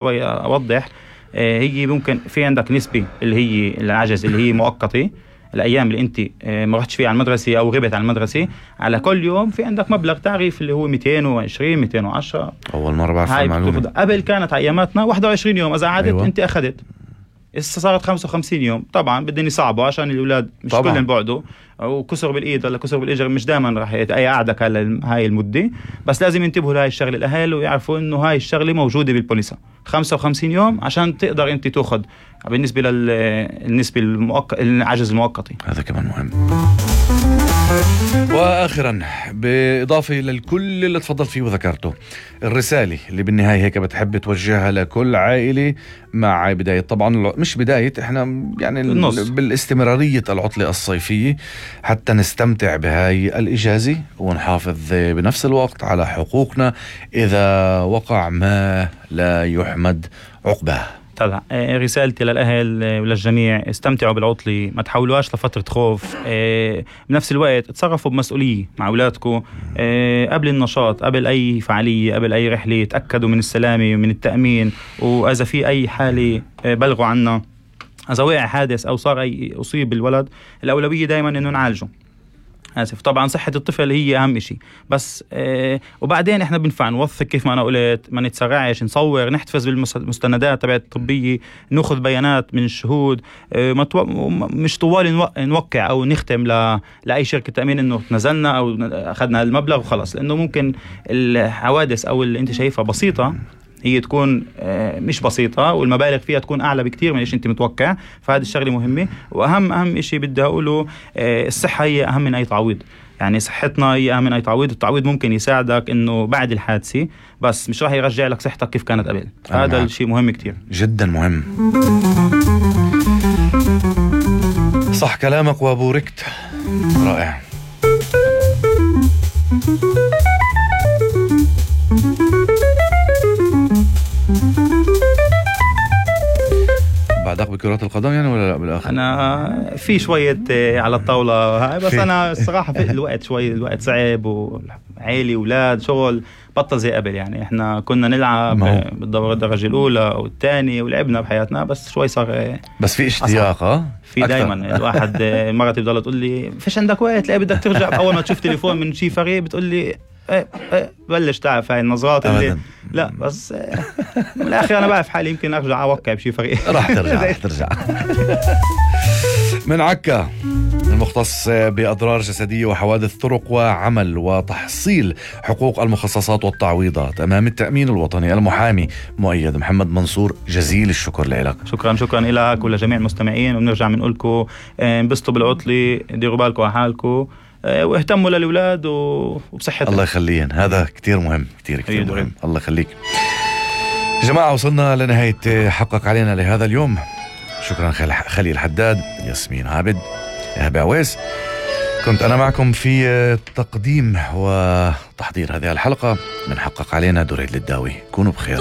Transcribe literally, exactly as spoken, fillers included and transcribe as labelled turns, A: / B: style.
A: أوضح. هي ممكن في عندك نسبة اللي هي العجز اللي هي مؤقتة، الأيام اللي أنت ما رحتش فيها على المدرسة أو غبت عن المدرسة، على كل يوم في عندك مبلغ تعريف اللي هو مئتين وعشرين مئتين وعشرة.
B: أول مرة بعرف المعلومة.
A: قبل كانت أياماتنا واحد وعشرين يوم، إذا عادت أيوة. أنت أخذت. إسا صارت خمسة وخمسين يوم. طبعا بدهم يصعبوا عشان الأولاد مش كلهم بعدوا، أو كسر بالإيد ولا كسر بالإجر، مش دائما راح أي قاعدك على هاي المدة، بس لازم ينتبهوا لهاي الشغلة الأهل ويعرفوا إنه هاي الشغلة موجودة بالبوليسة خمسة وخمسين يوم عشان تقدر أنت تأخذ بالنسبة للنسبة المؤقت العجز المؤقتي.
B: هذا كمان مهم. وآخرا بإضافة للكل اللي تفضل فيه وذكرته، الرسالة اللي بالنهاية هيك بتحب توجهها لكل عائلة مع بداية طبعا مش بداية احنا يعني النص. بالاستمرارية العطلة الصيفية حتى نستمتع بهاي الإجازة ونحافظ بنفس الوقت على حقوقنا إذا وقع ما لا يحمد عقباه.
A: طبعا رسالتي للأهل وللجميع، استمتعوا بالعطلة، ما تحولوهاش لفترة خوف. بنفس الوقت تصرفوا بمسؤولية مع أولادكم قبل النشاط، قبل أي فعالية، قبل أي رحلة، تأكدوا من السلامة ومن التأمين، وإذا في أي حالة بلغوا عنا. إذا وقع حادث أو صار أي أصيب الولد، الأولوية دايما إنه نعالجه. آسف طبعا صحة الطفل هي أهم شيء، بس آه وبعدين إحنا بنفع نوثق كيف ما أنا قلت، ما نتسرعش، نصور، نحتفظ بالمستندات تبعت الطبية، نأخذ بيانات من الشهود. آه متو... مش طوال نو... نوقع أو نختم ل... لأي شركة تأمين إنه نزلنا أو أخذنا المبلغ وخلاص، لأنه ممكن الحوادث أو اللي أنت شايفها بسيطة هي تكون مش بسيطة، والمبالغ فيها تكون أعلى بكتير من إيش أنت متوقع. فهذه الشغلة مهمة. وأهم أهم إشي بدي أقوله، الصحة هي أهم من أي تعويض. يعني صحتنا هي أهم من أي تعويض. التعويض ممكن يساعدك إنه بعد الحادثة، بس مش راح يرجع لك صحتك كيف كانت قبل. هذا الشيء مهم كتير
B: جدا مهم. صح كلامك وبوركت. رائع. بعدك بكرات القدم يعني ولا لا بالآخر؟
A: أنا في شوية على الطاولة هاي، بس أنا الصراحة في الوقت شوي الوقت صعب، وعائلي أولاد شغل بطل زي قبل. يعني إحنا كنا نلعب بالدورة الدرجة الأولى أو الثانية ولعبنا بحياتنا، بس شوي صار
B: بس في اشتياق. ها
A: في دايما الواحد مرتي بضل تقول لي فيش عندك وقت، لا بدك ترجع. أول ما تشوف تليفون من شي فريق بتقول لي ايه ايه بلش تعرف هاي النظرات اللي لا بس من الاخر انا بعرف حالي يمكن ارجع اوقع بشي فريق.
B: راح ترجع راح ترجع. من عكا المختص بأضرار جسدية وحوادث طرق وعمل وتحصيل حقوق المخصصات والتعويضات أمام التأمين الوطني، المحامي مؤيد محمد منصور، جزيل الشكر لك.
A: شكرا شكرا لك ولجميع المستمعين، وبنرجع بنقول لكم انبسطوا بالعطلة، ديروا بالكم على حالكم، واهتموا للأولاد وبصحتهم.
B: الله يخليهم، هذا كتير مهم كتير كتير مهم. الله يخليك. جماعة وصلنا لنهاية حقق علينا لهذا اليوم. شكرا خليل حداد، ياسمين عابد، إيهاب عويس. كنت أنا معكم في تقديم وتحضير هذه الحلقة من حقق علينا دريد للداوي. كونوا بخير.